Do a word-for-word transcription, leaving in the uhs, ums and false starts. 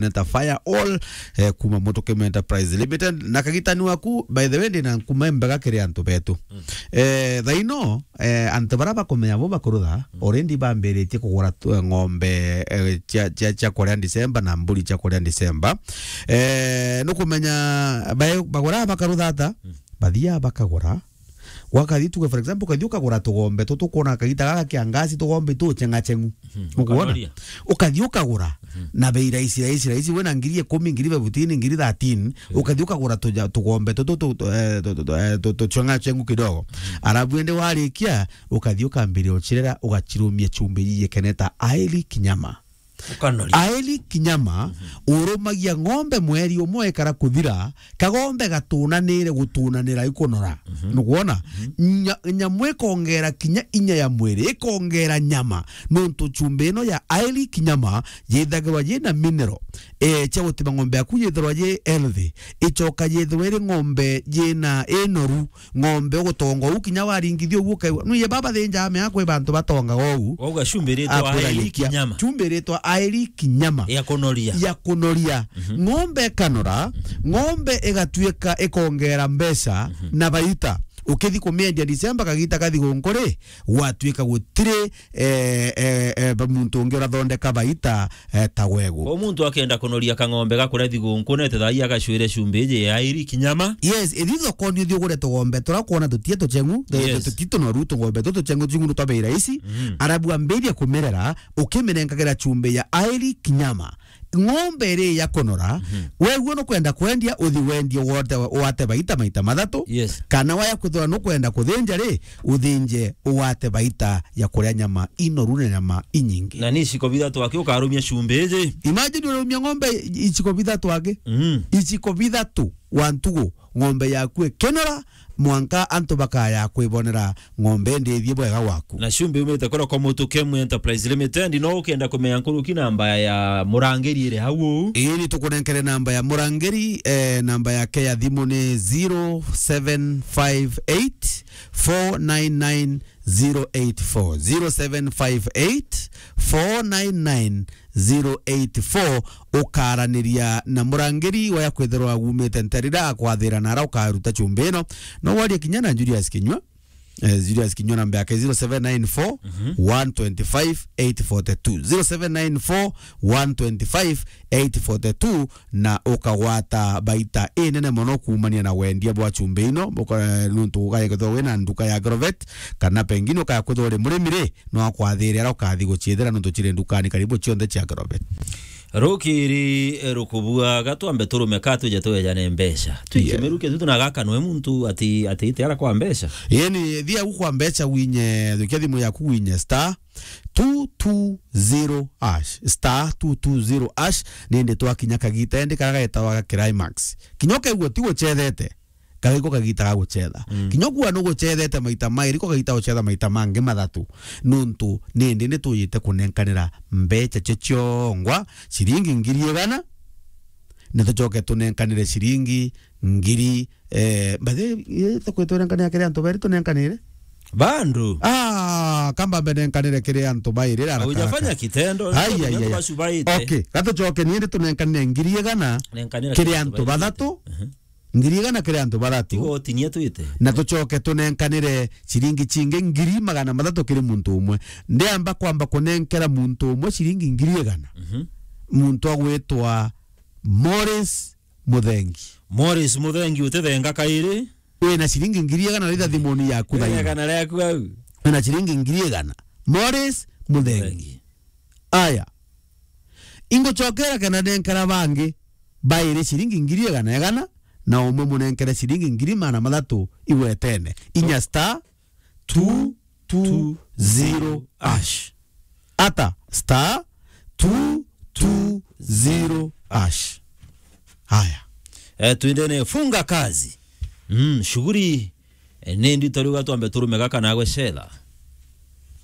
Neta Fire All, eh, kuma Mutukime Enterprise Limited. Na kagitani waku, by the way, ndina nkuma mbega kiri antu betu. Mm. Eh, thaino, eh, antu bara bakumenya bo bakurutha, mm, already bambiritie kugura tu, eh, ng'ombe, eh, cia, cia, cia kuria December na mburi cia kuria December. Eh, nukumenya, bae-, bagura bakarutha ata? Mm. Bathia bakagura. Wakathi tuge, for example, ukathi ukagura tugombe tu, tukwona kagita gaka kia ngasi, tugombe tu cheng'acheng'u. Mhm. Ukwona? Ukanoria. Ukathi ukagura, mhm, na bei rahisi, rahisi, rahisi, wina ngiri ikumi, ngiri fifteen, ngiri thirteen, mhm, ukathi ukagura tuja-, tugombe tu, tu, tu, tu, eh, tu, tu, tu, eh, tu, tu cheng'acheng'u kidogo. Mhm. Arabu ende warikia, ukathi ukambiria uchirera, ugachirumia chumbi yikeneta aili kinyama. Ukanoria. Aili kinyama, mhm, urumagia ng'ombe mweri umwe ikara kuthira, kagombe gatunanire gutunanira ikunora. Mhm. Nukwona? Mhm. Nya-, nyamu ikongera kinya inya ya mwiri, ikongera nyama. Nontu chumbi ino ya aili kinyama yithagirwa yina mineral, eh, cia gutima ng'ombe yaku yithirwa yi healthy. Ichoka yithirwa iri ng'ombe yina inoru. Ng'ombe ugutonga uu kinya waringithia uguo ukaigua. Nuye baba thinja ame akwe bantu batonga uu. Wauga chumbi iritwa akwira aili gikia kinyama. Chumbi iritwa aili kinyama. Ya kunoria. Ya kunoria. Mhm. Ng'ombe ikanora, ng'ombe igatuika ikongera mbeca, mhm, na baita. Ukithi kumiendia December kagita kathi gunkuri, gwatuika gutiri eh, eh, eh, ba-, muntu ungi urathondeka baita, eh, ta wegu. Kwa muntu akenda kunoria kang'ombe ga kuria thigunku, nete thaai agacwire chumbi iji ya aili kinyama. Yes, ithi thokoni uthi ugure tugombe turia kwona tutie tucheng'u, tu-, tu-, yes, tuti tunoru, tugombe tu tucheng'u, tucheng'u twa bei rahisi. Mhm. Arabu ambiria kumirera, ukiminenkagira chumbi ya aili kinyama. Ng'ombe iri ya kunora, mhm, weguo nukwenda kwendia, uthi wendie wote, wate baita maita mathatu. Yes. Kana waya kwithirwa nukwenda kuthinja ri, uthinje ugwate baita ya kuria nyama inoru na nyama inyingi. Na ni iciko bithatu aki ukarumia chumbi iji. Imagine urumia ng'ombe iciko bithatu aki. Mm. Iciko bithatu wa ntugu, ng'ombe yaku ikenora, mwanka antu bakaya kwibonera ng'ombe ndithie bwega waku. Na chumbi umite kura kwa Mutukime Enterprise Limited, no ukenda kumenya nkuruki namba ya murangiri iri hau uu. Ii, ni tukunenkere namba ya murangiri, eh, namba yake ya thimu ni zero seven five eight four nine nine zero eight four, zero seven five eight four nine nine zero eight four. Ukaraniria na murangiri waya kwithirwa wumite nterira akwathira nara ukaruta chumbi ino. No warie kinya na Julius Kinyua. Eh, Julius Kinyua namba yake zero seven nine four, one twenty five, eight forty two. Mhm. Zero seven nine four, one twenty five, eight forty two, na ukagwata baita inene mono kuumania na wendia bwa chumbi ino. Buka-, nuntu ugaye kwithirwa wina nduka ya Agrovet, kana pengine ukaya kwithirwa uri murimi ri, no akwathire aria ukathi guchiethera nuntu chiri ndukani karibu chionthe chia Agrovet. Rukiri, eh, rukubua, gatwambe turume ka tuje twejane mbeca. Twikie, yeah, miruke tu tuna gaka noe muntu ati, ati ite ara kwa mbeca. Yeni, thia u kwa mbeca winye, thukia thimu yaku winye star two two zero hash, star two two zero hash, nindi twakinya kagita endi karia getawa ga Climax. Kinya ukaigua ti guchethete, kagiko kagita ga guchetha. Mm. Kinya kuwa nuguchethete maita mairi, ko kagita guchetha maita mangi mathatu. Nuntu nindi ni tuyite kunenkanira mbeca cio ciongwa, ciringi ngiri igana, na tucoke tunenkanire ciringi ngiri, eh, mbathi, eh, tukwitwa nenkanira kiri antu beri tunenkanire? Bandu. Ah, kamba mbe nenkanire kiri antu bairi, ara. Haujafanya karaka. Kitendo, Ai, ai, ai, ai. Bacu baite. Okay, gatucoke nindi tunenkanire ngiri igana. Nenkanira kiri antu bathatu. Mhm. Ngiri igana kiri antu bathatu. Tigo tinia twite. Na tucoke tunenkanire ciringi cingi ngiri magana mathatu kiri muntu umwe. Ndiamba kwamba kunenkera muntu umwe ciringi ngiri igana. Mhm. Muntu agwitwa Morris Muthengi. Morris Muthengi, utithenga kairi. Wina ciringi ngiri igana ritha thimuni yaku thaini. Igana riaku au. Wina ciringi ngiri igana. Morris Muthengi. Muthengi. Aya. Ingucokera kenda nenkera bangi bairi ciringi ngiri igana igana, na umwe munenkere ciringi ngiri magana mathatu igwetene. Inya star two two zero hash. Ata star two two zero hash. Haya. Eh, twendene funga kazi. Mm, shughuli, eh, ni ndito riu gatwambe turume gaka nagwe Shela.